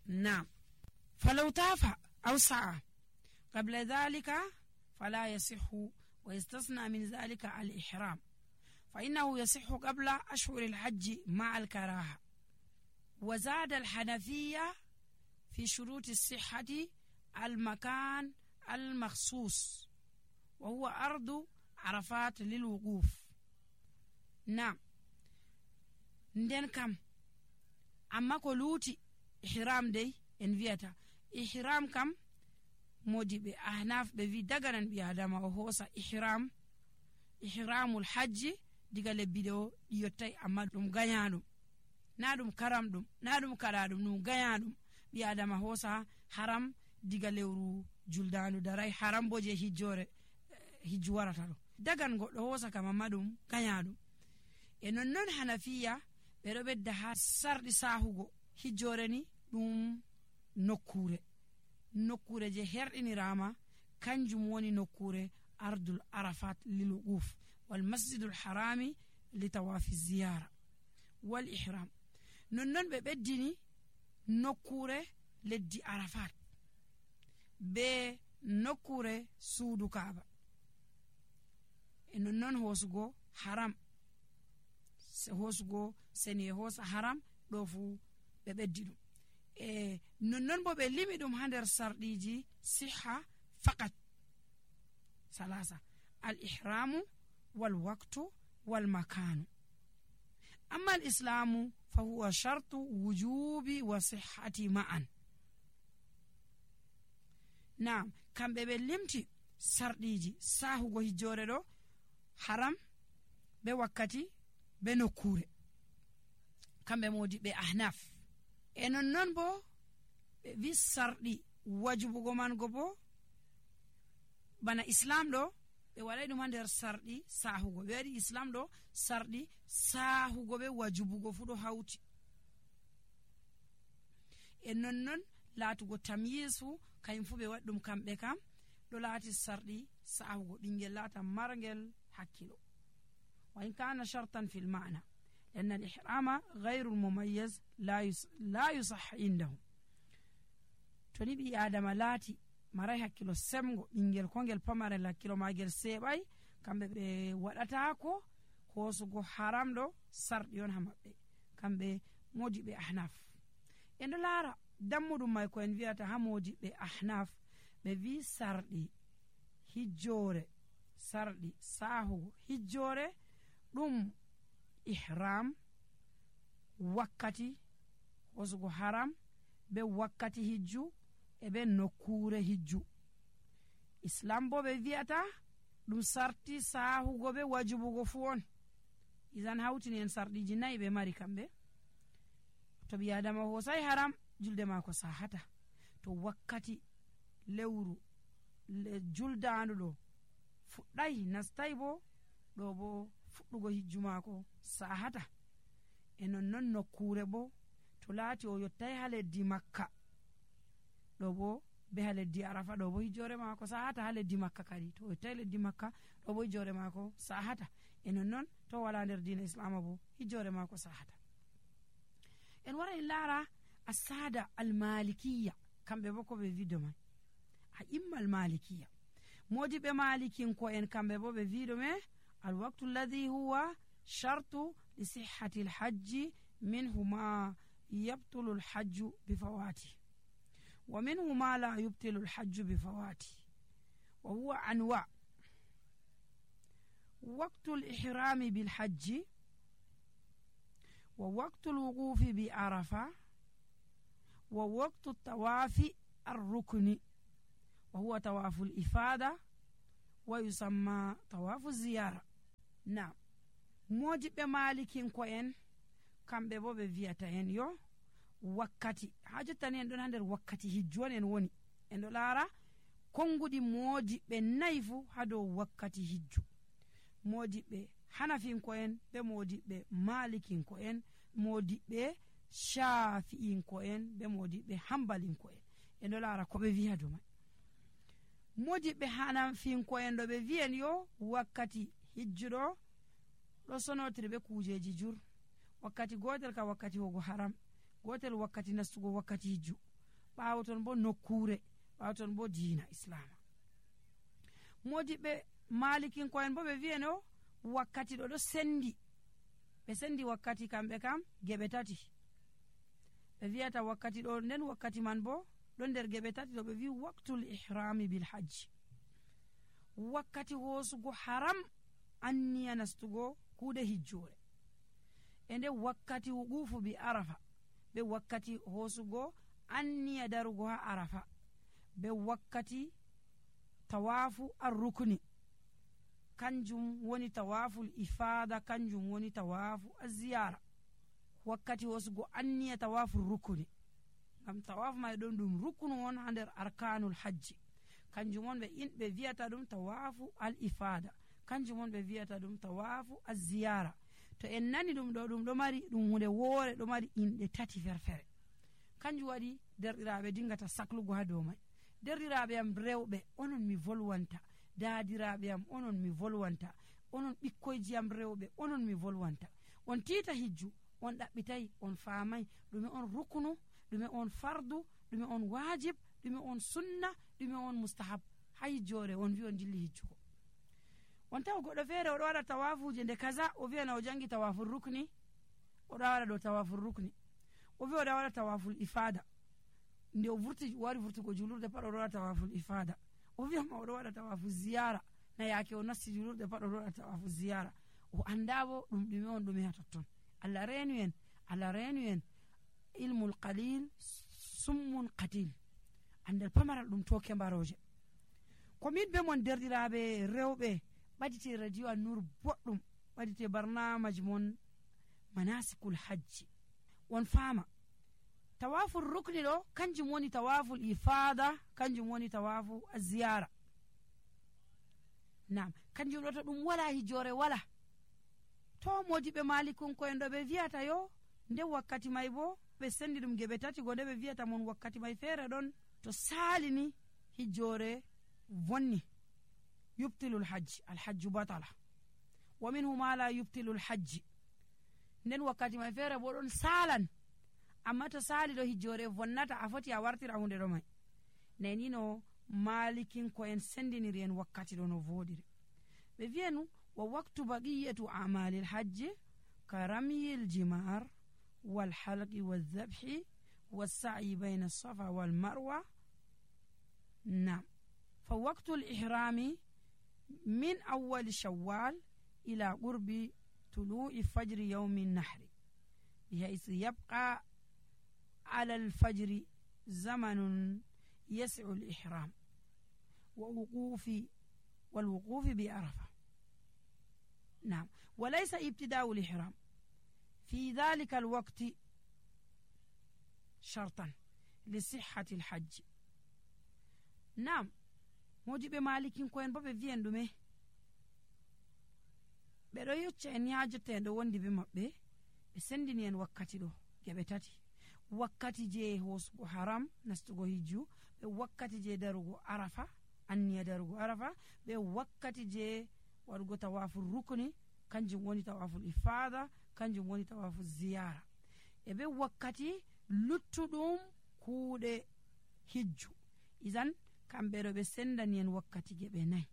نعم. فلو طاف أو سعى قبل ذلك فلا يصح، ويستثنى من ذلك الإحرام، فإنه يصح قبل أشهر الحج مع الكراهة. وزاد الحنفية في شروط الصحة المكان المخصوص، وهو أرض عرفات للوقوف. نعم. nden kam amma ko luuti ihram dey en wiyata ihram kam modi ɓe ahnaf ɓe wi daganan ɓi adama o hoosa ihramul hajji diga lebbi ɗo ɗi yottay, amma ɗum gayaɗum na ɗum karam ɗum na ɗum kaɗaɗum, ɗum gayaɗum ɓi adama hoosa haram diga lewru juldanu daray haram bo je hijju warata ɗo dagan goɗɗo hoosa kam, amma ɗum gayaɗum. E nonnon hanafiya ɓe ɗo ɓedda ha sarɗi sahugo hijjore ni ɗum nokkure je herɗinirama kanjum woni nokkure ardul arafat lil wuquf wal masjidul harami li tawafi ziyara wal ihram. nonnon ɓe ɓeddini nokkure leddi arafat be nokkure suudu kaaba. E nonnon hoosugo haram hoosugo seni hoosa haram ɗo fu ɓe ɓeddi ɗum. E nonnon bo ɓe limi ɗum ha nder sarɗiji siha faqat salasa: al ihramu wal waqtu wal makanu. amma al islamu fa huwa shartu wujubi wa sihhati ma'an. Naam, kamɓe ɓe limti sarɗiji sahugo hijjore ɗo haram be wakkati be nokkure, kamɓe modi ɓe ahnaf. E nonnon bo ɓe wi sarɗi wajubugo man go bo bana islam ɗo ɓe waɗay ɗum ha nder sarɗi sahugo. ɓe waɗi islam ɗo sarɗi sahugo be wajubugo fu ɗo hawti. E nonnon laatugo tamyis fu kayum fu ɓe waɗi ɗum kamɓe kam ɗo laati sarɗi sahugo ɓingel laata margel hakkilo. wa in kana shartan fil ma'na لأن الإحرام غير المميز لا يصح عندهم. toni ɓi adama laati maray hakkilo semgo ɓingel kongel pamarel hakkilo magel seɓay, kamɓe ɓe waɗatako hoosugo haram ɗo sarɗi on ha maɓɓe, kamɓe modi ɓe ahnaf. en ɗo laara dammuɗum may ko en wiyata ha modi ɓe ahnaf ɓe wi sarɗi hijjore, sarɗi sahugo hijjore ɗum ihram, wakkati hosugo haram be wakkati hijju e be nokkure hijju. islam bo ɓe wi'ata ɗum sarti sahugo be wajubugo fu on. isan hawtini en sarɗiji nayi ɓe mari kamɓe. to ɓi adama hosay haram julde mako sahata, to wakkati lewru juldandu ɗo fuɗɗay nastay bo ɗo bo fuɗɗugo hijju mako sahata. e nonnon nokkure bo to laati o yottay ha leddi makka ɗo bo be ha leddi arafa ɗo bo hijjore mako sahata. ha leddi makka kadi to o yottay leddi makka ɗo bo hijjore mako sahata. e nonnon to wala nder dina islama bo hijjore mako sahata. en wara en laara asada almalikiya, kamɓe bo ko ɓe wido mai a imma almalikiya. modi ɓe malikinko en kamɓe bo ɓe wido me الوقت الذي هو شرط لصحة الحج منه ما يبطل الحج بفواته ومنه ما لا يبطل الحج بفواته، وهو أنواع: وقت الإحرام بالحج، ووقت الوقوف بعرفة، ووقت الطواف الركن وهو طواف الإفادة ويسمى طواف الزيارة. نعم. modi ɓe malikinko en kamɓe bo ɓe wiyata en yo wakkati ha jottani en ɗon ha nder wakkati hijju on en woni. en ɗo laara konguɗi modi ɓe nayi fu ha dow wakkati hijju. modi ɓe hanafinko en be modi ɓe malikinko en, modi ɓe shafi'inko en be modi ɓe hambalinko en. en ɗo laara ko ɓe wiya do mai. modi ɓe hanafinko en ɗo ɓe wiyen yo wakkati hijjuɗo ɗo sonotiri be kujeji jur. wakkati gotel ka wakkati hogo haram, gotel wakkati nastugo wakkati hijju, ɓaawo ton bo nokkure, ɓaawo ton bo diina islama. Modiɓɓe malikinko'en bo ɓe wi'eno wakkati ɗo sendi, ɓe sendi wakkati kamɓe kam geɓe tati. ɓe wi'ata wakkati ɗo, nden wakkati man bo ɗon nder geɓe tati ɗo ɓe wi waktul ihrami bil hajji, wakkati hoosugo haram anniya nastugo kuuɗe hijjore, e nde wakkati wuqufu bi arafa, ɓe wakkati hoosugo anniya darugo ha arafa, be wakkati tawafu arrukni, kanjum woni tawaful ifada, kanjum woni tawafu aziyara. wakkati hoosugo anniya tawafu rukuni, ngam tawafu may ɗon ɗum rukunu on ha nder arkanul hajji, kanjum on ɓe wiyata ɗum tawafu al ifada, kanjum on ɓe wiyata ɗum tawafu aziyara. to en nani ɗum ɗo, ɗum ɗo mari ɗum hunde woore, ɗo mari inɗe tati ferfere. kanjum waɗi derɗiraɓe dingata saklugo ha dow may. derɗiraɓe am rewɓe, onon mi volwanta, daadiraɓe am onon mi volwanta, onon ɓikkoyji am rewɓe onon mi volwanta, on tiita hijju, on ɗaɓɓitayi, on faamay ɗume on rukunu, ɗume on fardu, ɗume on wajib, ɗume on sunna, ɗume on mustahab. ha hijjore on wi on dilli hijjugo, on tawa goɗɗo feere oɗo waɗa tawafuje nde kaza, o wiyana o jangi tawaful rukni, oɗo waɗa ɗo tawaful rukni, o wi oɗo waɗa tawaful ifada, nde o wari vurtugo julurde pat oɗo waɗa tawaful ifada, o wiyama oɗo waɗa tawaful ziyara, na yaake o nasti julurde pat oɗo waɗa tawaful ziyara, o anda bo ɗum ɗume on ɗume ha totton. Allah reenu en ilmul qalil summun qatil, andal pamaral ɗum toke mbaroje. komin be mon derɗiraɓe rewɓe, ɓadite radio An-Nur boɗɗum, ɓadite barnamaji mon manasikul hajji, on faama tawaful rukni ɗo kanjum woni tawaful ifada, kanjum woni tawafu aziyara. nam kanjum ɗo to ɗum wala hijjore wala. to modiɓe malikunko'en ɗo ɓe wiyata yo nde wakkati may bo ɓe sendi ɗum geɓe tati, go nde ɓe wiyata mon wakkati may feere ɗon to salini hijjore vonni, yubtilul hajji, alhajju batala, wa minhu ma la yubtilul hajji. nden wakkati may feere bo ɗon salan, amma to sali ɗo hijjore vonnata, a foti a wartira hunde ɗo may. neni no malikinko'en sendiniri en wakkati ɗo no voɗiri. ɓe wiyanu wa waktu baqiyatu amalil hajji ka ramyil jimar wal halqi wal dhabhi wal sa'i bayna safa wal marwa. nam fa waktu ihrami min awwal shawwal ila qurbi tulu'i fajri yawmi nahri bihaythu yabqa ala alfajri zamanun yas'u al-ihram wa wuqufi bi arafa. نعم وليس ابتداء الإحرام في ذلك الوقت شرطا لصحة الحج. نعم modiɓe malikinko'en bo ɓe wiyen ɗume, ɓeɗo yecca en yajotten ɗo wondi be maɓɓe, ɓe sendini en wakkati ɗo geɓe tati, wakkati je hosugo haram nastugo hijju, ɓe wakkati je darugo arafa, anniya darugo arafa, ɓe wakkati je waɗugo tawaful rukni, kanjum woni tawaful ifada, kanjum woni tawaful ziyara, e ɓe wakkati luttuɗum kuuɗe hijju. idan kamɓe ɗo ɓe sendani en wakkati geɓe nayi.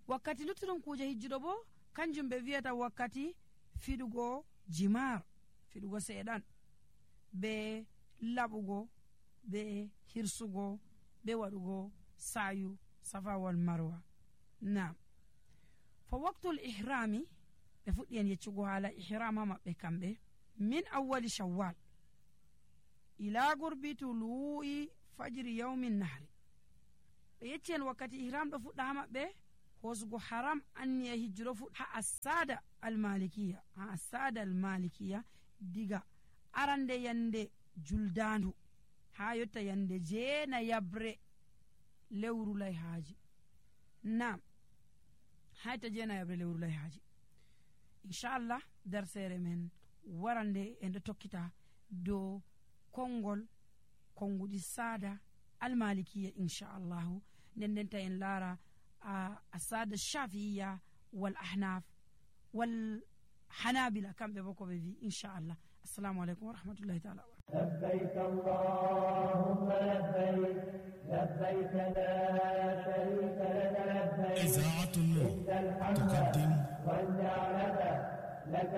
wakkati luttuɗum kuje hijjuɗo bo kanjum ɓe wiyata wakkati fiɗugo jimar, fiɗugo seeɗan, be laɓugo, be hirsugo, be waɗugo sayu safa wal marwa. nam fa waktul ihrami, ɓe fuɗɗi en yeccugo haala ihram ha maɓɓe kamɓe, min awwali shawwal ila gurbi tulu'i fajri yawmin nahri. ɓe yecci en wakkati ihram ɗo fuɗɗa ha maɓɓe hosugo haram anniya hijjuɗo fuɗɗa ha asada almalikiya diga arande yande juldandu ha yotta yande jeena yabre lewru layhaji. nam hayta jeena yabre lewru layhaji. inchallah darsere men warande en ɗo tokkita dow konguɗi sada almalikiya inchallahu. nden ta en laara asada shafi'iya wal ahnaf wal hanabila, kamɓe bo ko ɓe wi inchallah. assalamu aleykum wa rahmatullahi taala. لبيك اللهم لبيك لبيك لا شريك لك لبيك إذاعة النور تقدم والنعمة لك